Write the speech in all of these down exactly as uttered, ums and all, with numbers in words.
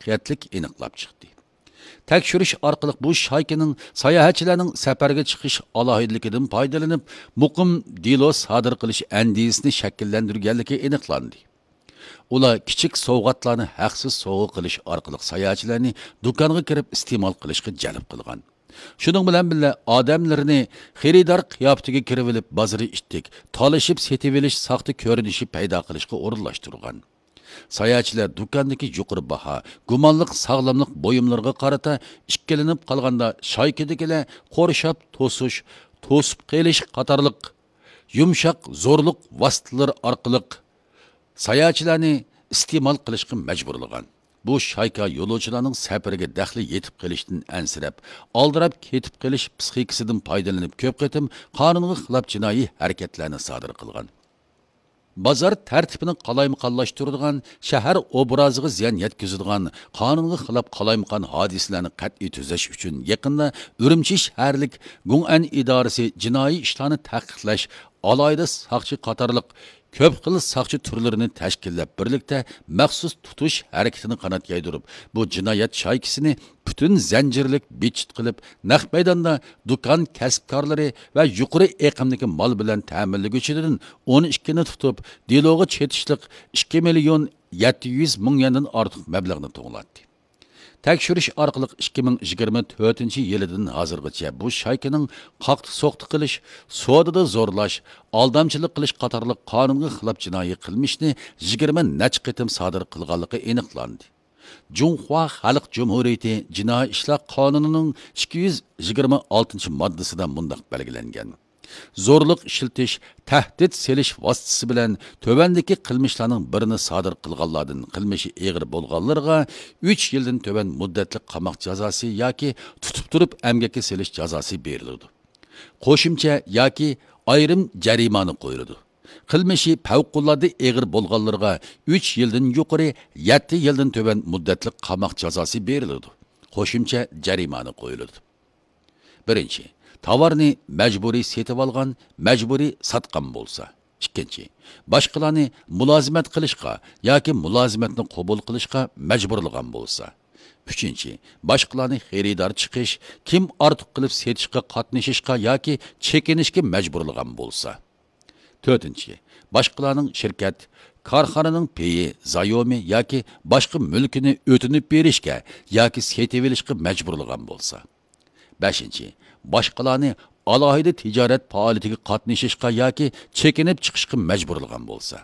دىققەتلىك ئېنىقلاپ چىقتى. تەكشۈرۈش ئارقىلىق بۇ شايكىنىڭ ساياھەتچىلەرنىڭ سەپەرگە چىقىش ئالاھىدىلىكىدىن پايدىلىنىپ، مۇقىم دېلو سادىر قىلىش ئەندىزىسىنى شەكىللەندۈرگەنلىكى ئېنىقلاندى. ئۇلار كىچىك سوۋغاتلارنى ھەقسىز سوۋغا قىلىش ئارقىلىق ساياھەتچىلەرنى دۇكانغا كىرىپ ئىستېمال قىلىشقا جەلپ قىلغان. شۇنىڭ بىلەن بىللە، ئادەملىرىنى خېرىدار قىياپىتىگە كىرىۋېلىپ، بازىرى ئىتتىك، تالىشىپ سېتىۋېلىش ساختا كۆرۈنۈشى پەيدا قىلىشقا ئورۇنلاشتۇرغان. ساياھەتچىلەر دۇكاندىكى يۇقىرى باھا، گۇمانلىق ساغلاملىق بۇيۇملىرىغا قارىتا ئىككىلىنىپ قالغاندا، شايكىدىكىلەر قورشاپ توسۇش، توسۇپ قېلىش قاتارلىق يۇمشاق زورلۇق ۋاسىتىلىرى ئارقىلىق ساياھەتچىلەرنى ئىستېمال قىلىشقا مەجبۇرلىغان. بۇ شايكا يولۇچىلارنىڭ سەپىرىگە دەخلى يېتىپ قېلىشتىن ئەنسىرەپ، ئالدىراپ كېتىپ قېلىش پىسخىكىسىدىن پايدىلىنىپ، كۆپ قېتىم قانۇنغا خىلاپ جىنايى ھەرىكەتلەرنى سادىر قىلغان. بازار تەرتىپىنى قالايمىقانلاشتۇرىدىغان، شەھەر ئوبرازىغا زىيان يەتكۈزىدىغان، قانۇنغا خىلاپ قالايمىقان ھادىسىلەرنى قەتئىي تۈزەش ئۈچۈن يېقىندا ئۈرۈمچى شەھەرلىك گۇڭئەن ئىدارىسى جىنايى ئىشلارنى تەھقىقلەش، ئالاھىدە ساقچى قاتارلىق كۆپ خىل ساقچى تۈرلىرىنى تەشكىللەپ، بىرلىكتە مەخسۇس تۇتۇش ھەرىكىتىنى قانات يايدۇرۇپ، بۇ جىنايەت شايكىسىنى پۈتۈن زەنجىرلىك بىتچىت قىلىپ، نەق مەيداندا دۇكان كەسىپكارلىرى ۋە يۇقىرى ئېقىمدىكى مال بىلەن تەمىنلىگۈچىدىن ئون ئىككىنى تۇتۇپ، دېلوغا چېتىشلىق ئىككى مىليون يەتتە يۈز مىڭ يۈەندىن ئارتۇق مەبلەغنى توڭلاتتى. تەكشۈرۈش ئارقىلىق ئىككى مىڭ يىگىرمە تۆتىنچى يىلىدىن ھازىرغىچە بۇ شايكىنىڭ قاقتى-سوقتى قىلىش، سودىدا زورلاش، ئالدامچىلىق قىلىش قاتارلىق قانۇنغا خىلاپ جىنايى قىلمىشنى يىگىرمە نەچچە قېتىم سادىر قىلغانلىقى ئېنىقلاندى. جۇڭخۇا خەلق جۇمھۇرىيىتى جىنايى ئىشلار قانۇنىنىڭ ئىككى يۈز يىگىرمە ئالتىنچى ماددىسىدا مۇنداق بەلگىلەنگەن: زورلۇق ئىشلىتىش، تەھدىت سېلىش ۋاسىتىسى بىلەن تۆۋەندىكى قىلمىشلارنىڭ بىرىنى سادىر قىلغانلاردىن قىلمىشى ئېغىر بولغانلىرىغا ئۈچ يىلدىن تۆۋەن مۇددەتلىك قاماق جازاسى ياكى تۇتۇپ تۇرۇپ ئەمگەككە سېلىش جازاسى بېرىلىدۇ. قوشۇمچە ياكى ئايرىم جەرىمانە قويۇلىدۇ. قىلمىشى پەۋقۇلئاددە ئېغىر بولغانلىرىغا ئۈچ يىلدىن يۇقىرى، يەتتە يىلدىن تۆۋەن مۇددەتلىك قاماق جازاسى بېرىلىدۇ. قوشۇمچە جەرىمانە قويۇلىدۇ. بىرىنچى، تاۋارنى مەجبۇرىي سېتىۋالغان، مەجبۇرىي ساتقان بولسا. ئىككىنچى، باشقىلارنى مۇلازىمەت قىلىشقا ياكى مۇلازىمەتنى قوبۇل قىلىشقا مەجبۇرلىغان بولسا. ئۈچىنچى، باشقىلارنى خېرىدار چىقىش، كىم ئارتۇق قىلىپ سېتىشقا قاتنىشىشقا ياكى چېكىنىشكە مەجبۇرلىغان بولسا. تۆتىنچى، باشقىلارنىڭ شىركەت، كارخانىنىڭ پېيى، زايومى ياكى باشقا مۈلكىنى ئۆتۈنۈپ بېرىشكە ياكى سېتىۋېلىشقا مەجبۇرلىغان بولسا. بەشىنچى، باشقىلارنى ئالاھىدە تىجارەت پائالىيىتىگە قاتنىشىشقا ياكى چېكىنىپ چىقىشقا مەجبۇرلىغان بولسا.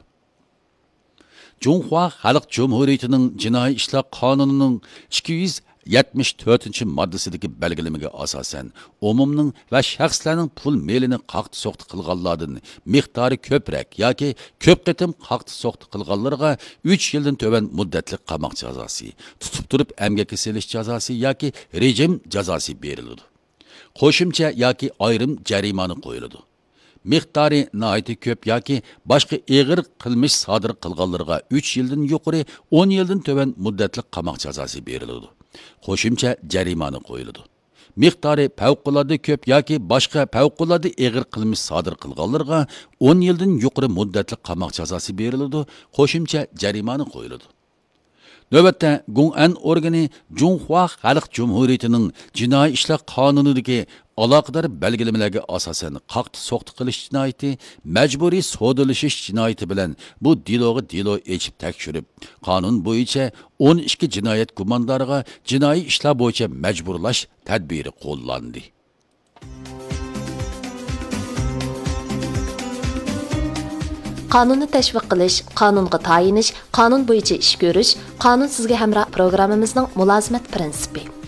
جۇڭخۇا خەلق جۇمھۇرىيىتىنىڭ جىنايى ئىشلار قانۇنىنىڭ ئىككى يۈز يەتمىش تۆتىنچى ماددىسىدىكى بەلگىلىمىگە ئاساسەن، ئومۇمنىڭ ۋە شەخسلەرنىڭ پۇل مېلىنى قاقتى-سوقتى قىلغانلاردىن مىقدارى كۆپرەك ياكى كۆپ قېتىم قاقتى-سوقتى قىلغانلىرىغا ئۈچ يىلدىن تۆۋەن مۇددەتلىك قاماق جازاسى، تۇتۇپ تۇرۇپ ئەمگەككە سېلىش جازاسى ياكى رېجىم جازاسى بېرىلىدۇ. قوشۇمچە ياكى ئايرىم جەرىمانە قويۇلىدۇ. مىقدارى ناھايىتى كۆپ ياكى باشقا ئېغىر قىلمىش سادىر قىلغانلىرىغا ئۈچ يىلدىن يۇقىرى، ئون يىلدىن تۆۋەن مۇددەتلىك قاماق جازاسى بېرىلىدۇ. قوشۇمچە جەرىمانە قويۇلىدۇ. مىقدارى پەۋقۇلئاددە كۆپ ياكى باشقا پەۋقۇلئاددە ئېغىر قىلمىش سادىر قىلغانلىرىغا ئون يىلدىن يۇقىرى مۇددەتلىك قاماق جازاسى بېرىلىدۇ، قوشۇمچە جەرىمانە قويۇلىدۇ. نۆۋەتتە، گۇڭئەن ئورگىنى جۇڭخۇا خەلق جۇمھۇرىيىتىنىڭ جىنايى ئىشلار قانۇنىدىكى ئالاقىدار بەلگىلىمىلەرگە ئاساسەن، قاقتى-سوقتى قىلىش جىنايىتى، مەجبۇرىي سودىلىشىش جىنايىتى بىلەن بۇ دېلوغا دېلو ئېچىپ تەكشۈرۈپ، قانۇن بويىچە ئون ئىككى جىنايەت گۇماندارىغا جىنايى ئىشلار بويىچە مەجبۇرلاش تەدبىرى قوللاندى. قانۇننى تەشۋىق قىلىش، قانۇنغا تايىنىش، قانۇن بويىچە ئىش كۆرۈش، قانۇن سىزگە ھەمراھ پروگراممىمىزنىڭ مۇلازىمەت پىرىنسىپى.